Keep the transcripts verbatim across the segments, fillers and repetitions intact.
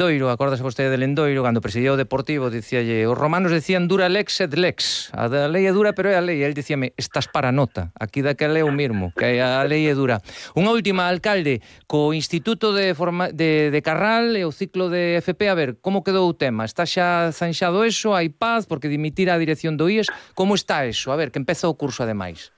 Lendoiro, acórdase vostede de Lendoiro, cando presidía o Deportivo, dicíalle, os romanos decían dura lex et lex, a da lei é dura pero é a lei, e el dicíame, estás para nota, aquí daquela é o mismo, que a lei é dura. Unha última, alcalde, co Instituto de, forma, de, de Carral e o ciclo de F P, a ver, como quedou o tema? Está xa zanxado eso, hai paz, porque dimitir a dirección do I E S, como está eso? A ver, que empeza o curso ademais.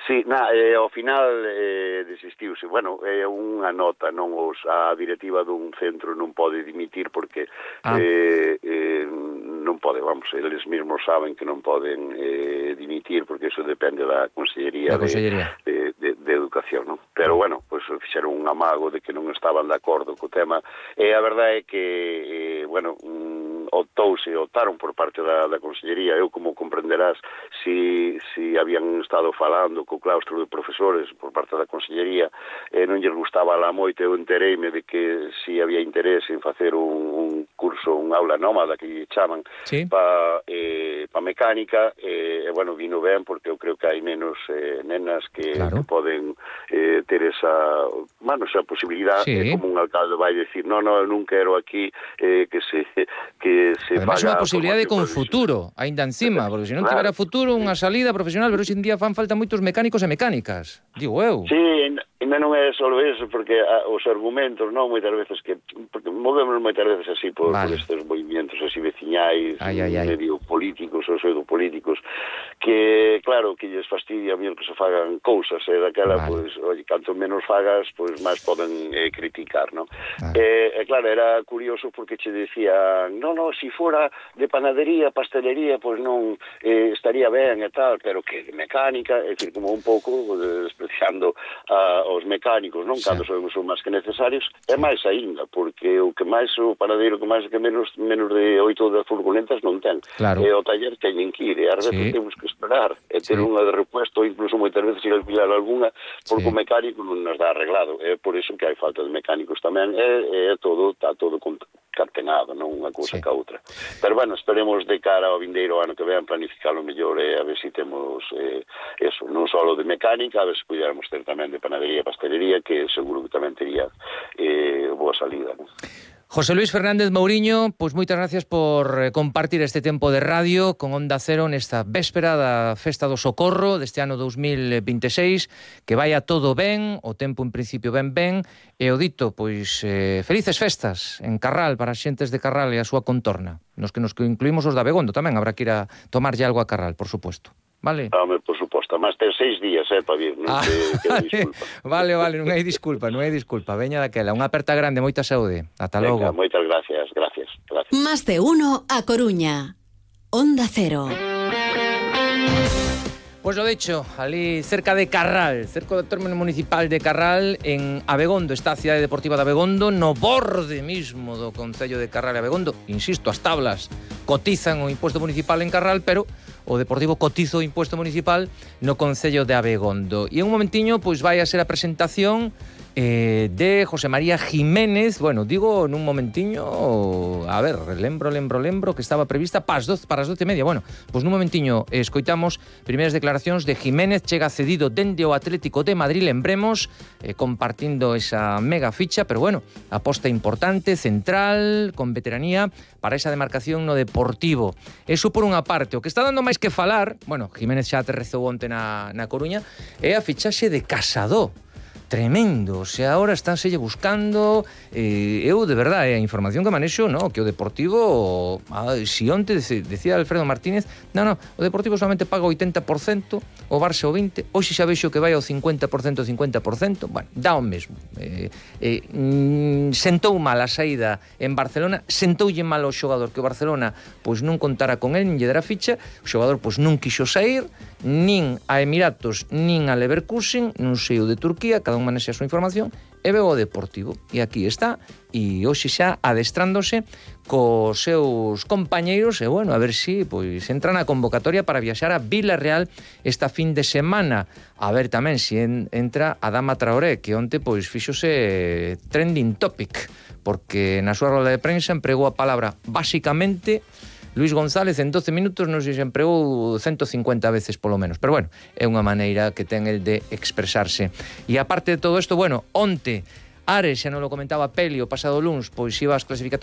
Sí, na, eh, ao final eh, desistiuse. Bueno, é unha nota, non os, a directiva dun centro non pode dimitir porque ah. eh, eh, non pode, vamos, eles mesmos saben que non poden eh, dimitir porque eso depende da Consellería, da Consellería. De, de, de Educación, non? Pero, bueno, pues, fixeron un amago de que non estaban de acordo co tema. E a verdade é que, eh, bueno, mm, optouse, optaron por parte da, da Consellería. Eu, como comprenderás, si, si habían estado falando co claustro de profesores por parte da Consellería, eh, non lles gustaba lá moito, eu entereime de que si había interés en facer un, un curso, un aula nómada que lle chaman, sí. pa, eh, pa mecánica, e, eh, bueno, vino ben porque eu creo que hai menos eh, nenas que, claro. que poden eh, ter esa, bueno, esa posibilidad, sí. eh, como un alcalde vai decir, no, no, eu non quero aquí eh, que se que se además paga... Ademais, unha posibilidade con futuro, aínda encima, porque se non claro. tivera futuro, unha salida profesional, pero hoxe en día fan falta moitos mecánicos e mecánicas, digo eu. Sí, ainda non é só eso, porque a, os argumentos, non, moitas veces que, porque movemos moitas veces así por, vale. por estes movimentos así veciñais, ai, ai, ai. medio políticos ou pseudopolíticos, que, claro, que lles fastidia a mí que se fagan cousas, e eh, daquela, vale. pois, oye, canto menos fagas, pois máis poden eh, criticar, non? Vale. E, eh, claro, era curioso porque che decía, no, no, si fora de panadería, pastelería, pois non eh, estaría ben e tal, pero que de mecánica, é dicir, como un pouco eh, despreciando a os mecánicos, non? Sí. Cando son, son máis que necesarios, sí. é máis aínda, porque o que máis o panadeiro que máis que menos menos de oito das furgonetas non ten. Claro. E o taller teñen que ir, e a veces sí. temos que esperar, e ter sí. unha de repuesto, incluso moitas veces ir a alquilar algunha, porque sí. o mecánico non nos dá arreglado. É por iso que hai falta de mecánicos tamén, e, e todo, está todo concatenado, non unha cousa sí. que a outra. Pero, bueno, esperemos de cara ao vindeiro ano que vean planificarlo mellor, e a ver se si temos eh, eso, non só de mecánica, a ver se pudiéramos ter tamén de panadería e pastelería, que seguro que tamén tería eh, boa salida, non? José Luis Fernández Mouriño, pois moitas gracias por compartir este tempo de radio con Onda Cero nesta véspera da Festa do Socorro deste ano dous mil vinte e seis, que vaya todo ben, o tempo en principio ben ben, e o dito, pois, eh, felices festas en Carral para as xentes de Carral e a súa contorna, nos que nos incluímos os de Abegondo tamén, habrá que ir a tomarlle algo a Carral, por suposto. Vale. Home, por suposto, máis ten seis días, eh, para vir, non ah, te, te disculpa. Vale, vale, non hai disculpa, non hai disculpa. Veña daquela, unha aperta grande, moita saúde. Ata logo. Venga, moitas gracias, gracias, gracias. Más de uno a Coruña. Onda Cero. Pois lo dicho, ali cerca de Carral, cerca do término municipal de Carral, en Abegondo, está a cidade deportiva de Abegondo, no borde mismo do concello de Carral e Abegondo. Insisto, as tablas cotizan o imposto municipal en Carral, pero o Deportivo cotiza o imposto municipal no concello de Abegondo. E en un momentiño, pois vai a ser a presentación eh, de José María Jiménez, bueno, digo nun momentiño, a ver, lembro, lembro, lembro, que estaba prevista para as doce, para as doce e media, bueno, pois nun momentiño escoitamos primeiras declaracións de Jiménez, chega cedido dende o Atlético de Madrid, lembremos, eh, compartindo esa mega ficha, pero bueno, aposta importante, central, con veteranía, para esa demarcación no Deportivo. Eso por unha parte. O que está dando máis que falar, bueno, Jiménez xa aterrezou onte na, na Coruña, é a fichaxe de Casado. Tremendo, o sea, ahora estánselle buscando, eh, eu de verdade, a información que manexo, no, que o Deportivo, ah, si onte decía Alfredo Martínez, no, no, o Deportivo solamente paga o oitenta por cento, o Barça o vinte por cento, hoxe xa vexo que vai ao cincuenta por cento, cincuenta por cento, bueno, dá o mesmo. Eh, eh, mm, sentou mal a saída en Barcelona, sentoulle mal ao xogador que o Barcelona pois non contara con el, nin lle dera ficha, o xogador pois non quixo sair, nin a Emiratos, nin a Leverkusen, non sei o de Turquía, cada un manexa a súa información, e veo o Deportivo, e aquí está, e hoxe xa adestrándose cos seus compañeiros, e bueno, a ver si pois entra na convocatoria para viaxar a Vilarreal esta fin de semana, a ver tamén si en, entra Adama Traoré, que onte pois fíxose trending topic, porque na súa roda de prensa empregou a palabra basicamente Luis González en doce minutos, non sei se empregou ciento cincuenta veces polo menos, pero bueno, é unha maneira que ten el de expresarse. E aparte de todo isto, bueno, onte Ares, xa non lo comentaba Peli, o pasado luns, pois iba as clasificatorias